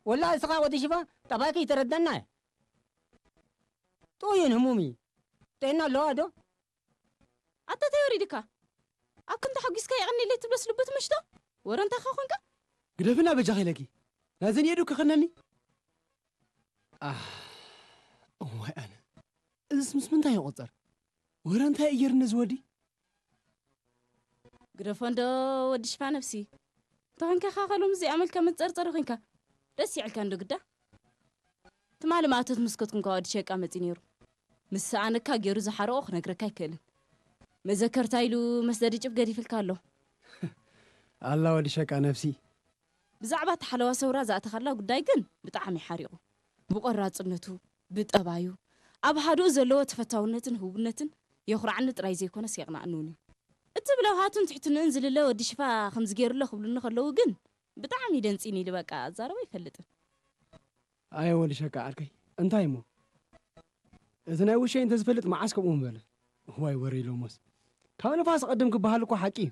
ወላ እስኻ ወዲ ሽፋ ጠባይካ ይተረዳና እየ። ጥኡይን ህሙም እዩ። ጥዕና ኣለዋ ዶ? ኣታ እንታይ ወሪድካ? ኣብ ክንዲ ሓጒስካ የቐንየለይ ትብሎስ ልቡ ትምሽቶ? ወረ እንታኻ ኾንካ? ግደፍና በጃኺ ኢለኪ። ናይዘን የዱ ክኸነኒ? ኣህ፣ እዋይ ኣነ። እዝስ ምስ ምንታይ ይቑጸር? ወረ እንታይ እዩ ገይሩኒ እዚ ወዲ? ግደፎ እንዶ ወዲ ሽፋ ነብሲ። እንተ ኾንካ ኻኸሎም እዚኣ መልካ መጸርጸሪ ኾንካ። ደስ ይዕልካ እንዶ ግዳ። ትማሊ ማእቶት ምስ ከትኩንካ ወዲ ሸቃ መጺ ነይሩ። ምስ ሰኣነካ ገይሩ ዝሓረቆ ክነግረካ ኣይክእልን። መዘከርታ ኢሉ መስደዲ ጭብ ገዲፍልካ ኣሎ። ኣላ ወዲ ሸቃ ነብሲ። ብዛዕባ እቲ ሓለዋ ሰውራ ዝኣተኻላ ጉዳይ ግን ብጣዕሚ ሓሪቑ። ብቆራጽነቱ፣ ብጠባዩ፣ ኣብ ሃዱኡ ዘለዎ ተፈታውነትን ህቡብነትን የኹርዓኒ ጥራይ ዘይኮነስ የቕንኣኒ እውን እዩ። እቲ ብለውሃቱን ትሕትንኡን ዝልለ ወዲ ሽፋ ከምዚ ገይሩሎ ክብሉኒ ከለዉ ግን ብጣዕሚ ደንጺኒ ኢሉ በቃ ኣዛረቦ ኣይፈልጥን። ኣየ ወዲ ሸቃ ዓርከይ፣ እንታይ እሞ? እዚ ናይ ውሸይ እንተዝፈልጥ መዓስ ከምኡ ምበለ። ዋይ ወረ ኢሎሞስ። ካብ ንፋስ ቀድም ክበሃል እኮ ሓቂ እዩ።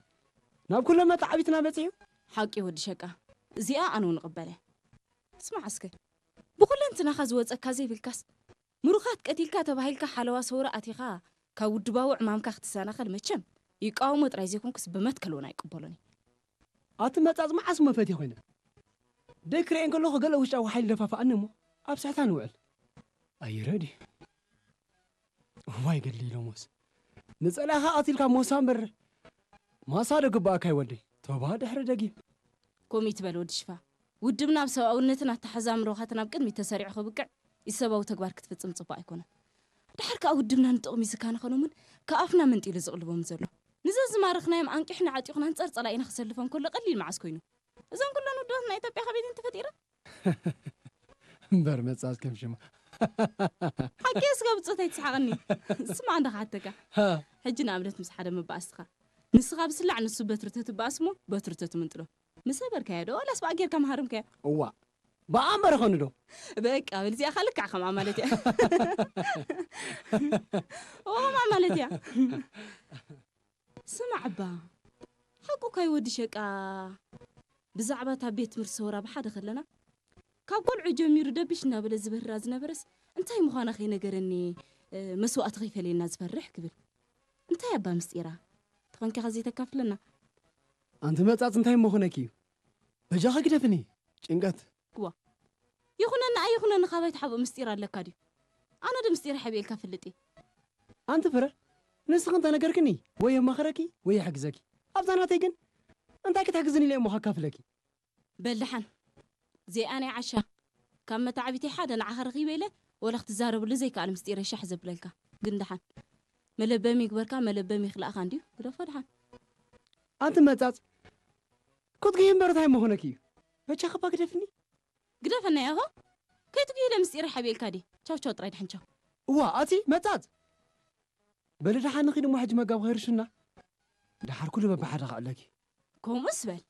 ናብ ኩሎም መተዓቢትና በጺሑ። ሓቂ ወዲ ሸቃ። እዚኣ ኣነ እውን እቕበለ። ስማዕ እስከ። ብኩለንትናኻ ዝወጸካ ዘይብልካስ ምሩኻት ቀቲልካ ተባሂልካ ሓለዋ ሰውራ ኣቲኻ ካብ ውድባዊ ዕማምካ ክትሰናኸል መቸም ይቃወሞ ጥራይ ዘይኮንኩስ ብመትከል እውን ኣይቅበሎን እየ። ኣቲ መጻጽ መዓስ እሞ ፈትየ ኮይነ። ደይ ክርእየን ከለኹ ገለ ውሽጣዊ ሓይሊ ደፋፍኣኒ እሞ ኣብ ስሕታ ንውዕል። ኣይረዲ። እዋይ ገድሊ ኢሎሞስ። ንጸላእኻ ቀቲልካ ሞሳ እምበር ማሳ ዶ ግባእካ ይወደይ። ቶባ ድሕሪ ደጊም። ከምኡ ይትበል ወዲ ሽፋ። ውድብና ኣብ ሰብኣውነትን ኣተሓዛ ኣምሮኻትን ኣብ ቅድሚት ተሰሪዑ ክብቅዕ ኢሰብኣዊ ተግባር ክትፍጽም ጽቡቕ ኣይኮነን። ድሓር ከኣ ውድብና ንጥቕሚ ዝካነ ኸኖምን ካብ ኣፍና መንጢሉ ዝቕልቦም ዘሎ። ንዘ ዝማረኽናዮም ኣንቂሕና ዓጢቑና ኣንጻር ጸላኢና ክሰልፎም ከሎ ቀሊል መዓስ ኮይኑ። እዞም ኩለን ውድባት ናይ ኢትዮጵያ ካበይ እየን ተፈጢረን? እምበር መጻጽ ከም ሽማ። ሓቂ እስከ ብጾት ኣይትስሓቐኒ። ስማዕ እንዳ ክሓተካ። ሃ። ሕጂ ንኣብነት ምስ ሓደ መባእስትኻ። ንስኻ ብስላዕ ንሱ በትሪ ተትበኣስ እሞ በትሪ ተትምንጥሎ። ምስ ሰበርካዮ ዶ ዋላስ ብኣ ጌርካ ምሃርምካዮ? እዋ። ብኣ እምበር ኸኑ ዶ? በቃ በል እዚኣ ኸኣ ልክዕ ከምኣ ማለት እያ። ኦ ከምኣ ማለት እያ። ስማዕ እባ፣ ሓቁ ካይ ወዲ ሸቃ ብዛዕባ እታ ቤት ትምህርቲ ሰውራ ብሓደ ከለና፣ ካብ ቆልዑ ጀሚሩ ደብሽ እናበለ ዝበህራ ዝነበረስ እንታይ ምዃና ከይነገረኒ፣ እ፣ መስዋእቲ ከይፈልየና ዝፈርሕ ክብል። እንታይ እባ ምስጢራ? ተኾንካ ከ ዘይተካፍለና? ኣንቲ መጻጽ እንታይ እሞ ኾነኪ እዩ? በጃኺ ግደፍኒ፣ ጭንቀት። እዋ፣ ይኹነኒ ኣይኹነኒ ካባይ ትሓብኦ ምስጢር ኣለካ ድዩ? ኣነ ዶ ምስጢር ሓቢኤልካ ፍልጥ እየ? ኣንቲ ፍረ፣ ንስኺ እንተነገርክኒ ወይ የማኽረኪ ወይ የሕግዘኪ። ኣብዛ ናተይ ግን እንታይ ክትሕግዝኒ ኢለ እሞ ከካፍለኪ? በል ደሓን፣ ዘይኣነይ ዓሻ፣ ካብ መታዕቢተይ ሓደ ንዓኻ ረኺበ ኢለ ወላ ክትዛረብሉ ዘይከኣል ምስጢረይ ሻሕ ዘብለልካ። ግን ደሓን፣ መለበሚ ይግበርካ፣ መለበሚ ይኽላእካ እንድዩ፣ ግደፎ ደሓን። ኣንቲ መጻጽ፣ ክትጉሂ እምበር እንታይ ምኾነኪ እዩ? በጃኺ እባ ግደፍኒ። ግደፈና ያሆ። ከይትጉሂ ኢለ ምስጢረይ ሓቢኤልካ ድየ? ቻው ቻው ጥራይ ደሓን ቻው። እዋ፣ ኣቲ መጻጽ። በሊ ደሓን ንኺድ እሞ ሕጂ መጋቢ ከይርሽና። ደሓር ኩሉ በብሓደ ከዕለኪ። ከምኡስ በል።